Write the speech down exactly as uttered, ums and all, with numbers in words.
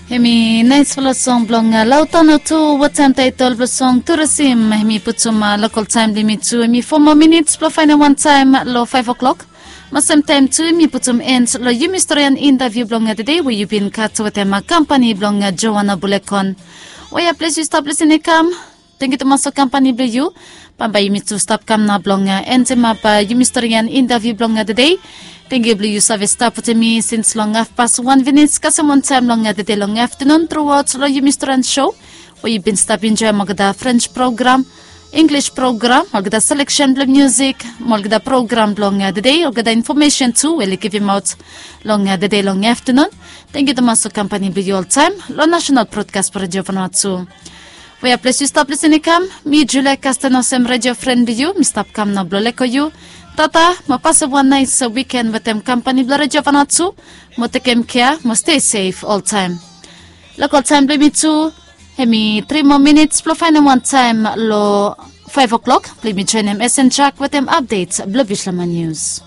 Hemi naisfala song blong Lautano tu, watem taitol blong song Turasim. Hemi putum lokol taem blong yumi tu hemi fo moa minits blong faenem wantaem long faef oklok. Mo semtaem tu hemi putum en long yumi storian intaviu blong tede we yu bin gat wetem kampani blong Joana Bulekon. Wea ples yu stap lisin i kam? Tangkiu tumas long kampani blong yu. Bambae yumi tu stap kam nao blong endimap yumi storian intaviu blong tede. Tangkiu blong yu save stap wetem mi sins long hafpas wan finis kasem wantaem long tede long aftanun truaot long yumi storian so we yu bin stap enjoem olgeta French program, English program, olgeta seleksen blong musik, mo olgeta program blong tede, olgeta infomesen tu we oli givimaot long tede long aftanun. Tangkiu tumas long kampani blong yu oltaem long National Broadcast Redio Vanuatu. Wea ples yu stap lisin i kam? Mi Julia Kasten olsem redio fren blong yu mi stap kam nao blong leko yu. Tata, mo pasem wan naes wiken wetem kampani blong Redio Vanuatu. Mo tekem kea mo stei sef oltaem. Lokol taem blong yumi tu, hemi tri moa minits blong faenem wantaem long faef oklok blong yumi joenem Esen Jak wetem apdet blong Bislama Nius.